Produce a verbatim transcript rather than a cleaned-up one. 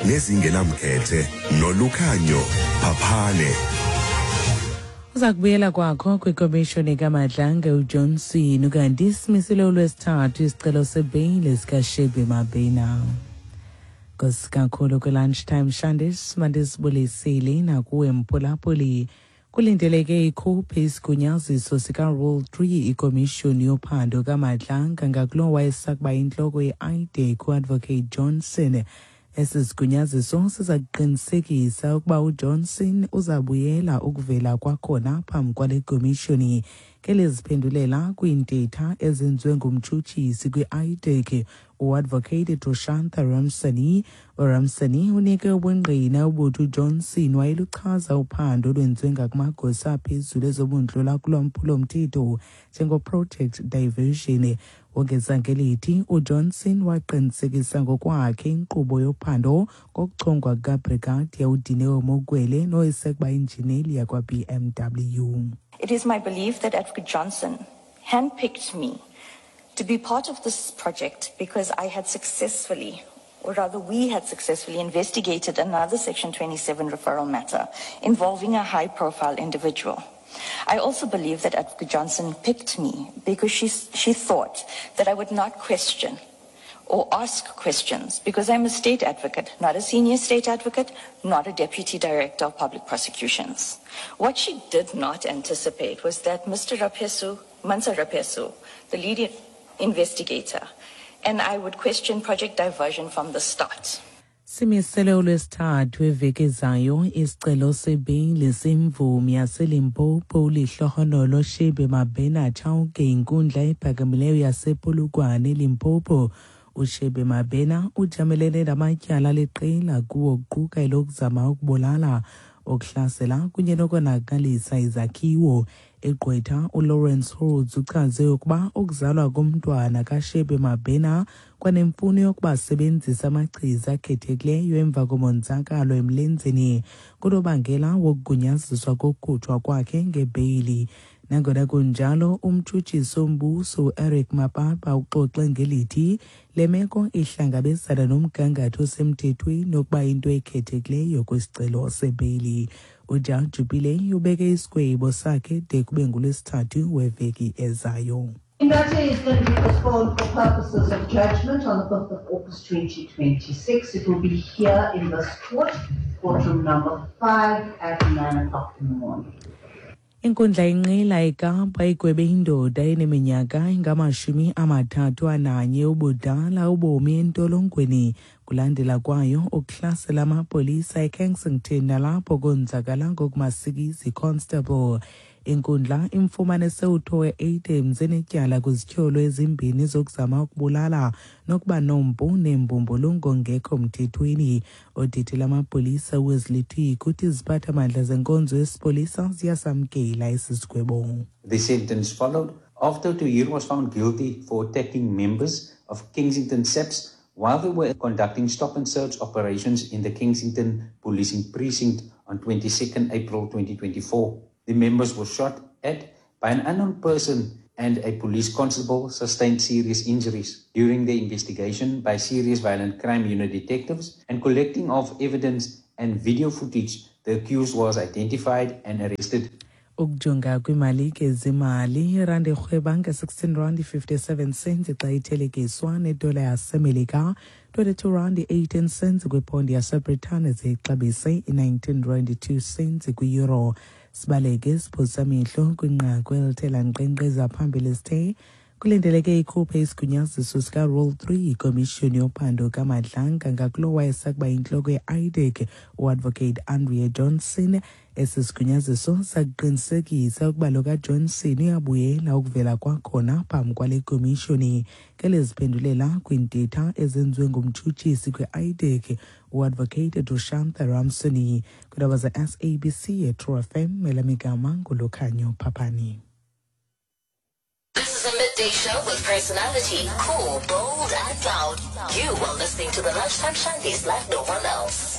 Nezingenamkhethe noLukhanyo Phaphane. Uza kubuyela kwakho kwikomishoni kaMadlanga uJohnson, ukanti simisile uLwesithathu isicelo sebheyile sikaShebe Mabena. Nkosi kakhulu kwi-Lunchtime Shandis, mandisibulisile nakuwe mphulaphuli. Kulindeleke ikhuphe isigunyaziso sika-Rule three ikomishoni yophando kaMadlanga ngakulo wayesakuba intloko ye-IDAC uAdvocate Johnson. Esi sigunyaziso siza kuqinisekisa ukuba uJohnson uzabuyela ukuvela kwakhona phambi kwale komishoni. Ngeliziphendulela kwiintetha ezenziwe ngumtshutshisi kwi-I D A C uAdvocate Drushantha Ramsani. URamsani unike ubungqina obuthi uJohnson wayeluchaza uphando olwenziwe ngakumagosa aphezulu ezobundlula kulwaphulo-mthetho njengoProject Diversion. Wongeza ngelithi uJohnson waqinisekisa ngokwakhe inkqubo yophando ngokuchongwa kukaBrigadier uDineo Mokwele nowayesakuba yinjineli yakwa-B M W. It is my belief that Advocate Johnson handpicked me to be part of this project because I had successfully, or rather we had successfully investigated another Section twenty-seven referral matter involving a high-profile individual. I also believe that Advocate Johnson picked me because she, she thought that I would not question or ask questions because I'm a state advocate, not a senior state advocate, not a deputy director of public prosecutions. What she did not anticipate was that Mister Rapesu, Mansa Rapesu, the lead investigator, and I would question Project Diversion from the start. Simisele uLwesithathu weveki ezayo isicelo sebheyile semvumi yaseLimpopo uLehlohonolo Shebe Mabena Chauke inkundla ephakamileyo yasePolokwane eLimpopo. UShebe Mabena ujamelene namatyala aliqela, kuwo kuquka elokuzama ukubulala, ukuhlasela kunye nokonakalisa izakhiwo. Igqwetha uLawrence Rhodes uchaze ukuba ukuzalwa komntwana kaShebe Mabena kwanemfuno yokuba sebenzisa amachiza akhethekileyo emva komonzakalo emlenzeni kunobangela wokugunyaziswa kokukhutshwa kwakhe ngebheyili. Nangona kunjalo, umtshutshisi wombuso uEric Mapapa uxoxe ngelithi le meko ihlangabezana nomgangatho osemthethweni wokuba into ekhethekileyo kwisicelo sebheyili. Ujaji Pillay ubeke isigwebo sakhe de kube nguLwesithathu weveki ezayo. The matter is going to be postponed for purposes of judgment on the fifth of August twenty twenty-six. It will be here in this court, courtroom number five at nine o'clock in the morning. Inkundla inqila eKapa igwebe indoda eneminyaka engamashumi amathathu ananye ubudala ubomi entolongweni kulandela kwayo ukuhlasela amapolisa eKensington nalapho konzakala ngokumasikizi constable. Inkundla imfumanise uThoe Adams enetyala kwizityholo ezimbini zokuzama ukubulala nokuba nompu nembumbulu ngekho mthethweni. Odidi lamapolisa uWesley Twigg uthi iziphathamandla zenkonzo yesipolisa ziyasamkela esi sigwebo. The sentence followed after Tohir was found guilty for attacking members of Kensington S A P S while they were conducting stop and search operations in the Kensington policing precinct on twenty-second April twenty twenty-four. The members were shot at by an unknown person and a police constable sustained serious injuries. During the investigation by Serious Violent Crime Unit detectives and collecting of evidence and video footage, the accused was identified and arrested. Ukujonga kwiimalike zemali, irandi irhweba nge-sixteen rand fifty-seven cents xa ithelekiswa nedola yaseMelika, twenty-two rand eighteen cents kwipondi yaseBritane, zixabise i-nineteen rand two cents kwi-euro. Sibaleke siphosa amehlo kwinqaku elithe lankqenkqeza phambili. Sithe kulindeleke ikhuphe isigunyaziso sika-Rule three ikomishoni yophando kaMadlanga ngakulo wayesakuba yintloko ye-IDAC uAdvocate Andrea Johnson. Esi sigunyaziso sakuqinisekisa ukuba lo kaJohnson uyabuyela ukuvela kwakhona phambi kwale komishoni. Ngeliziphendulela kwiintetha ezenziwe ngumtshutshisi kwi-IDAC uAdvocate Drushantha Ramsoni. Kwiindaba ze-S A B C yeTrue F M, elamigama nguLukhanyo Phaphani. This is a midday show with personality, cool, bold, and loud. You are listening to the Lunchtime Shandies like no one else.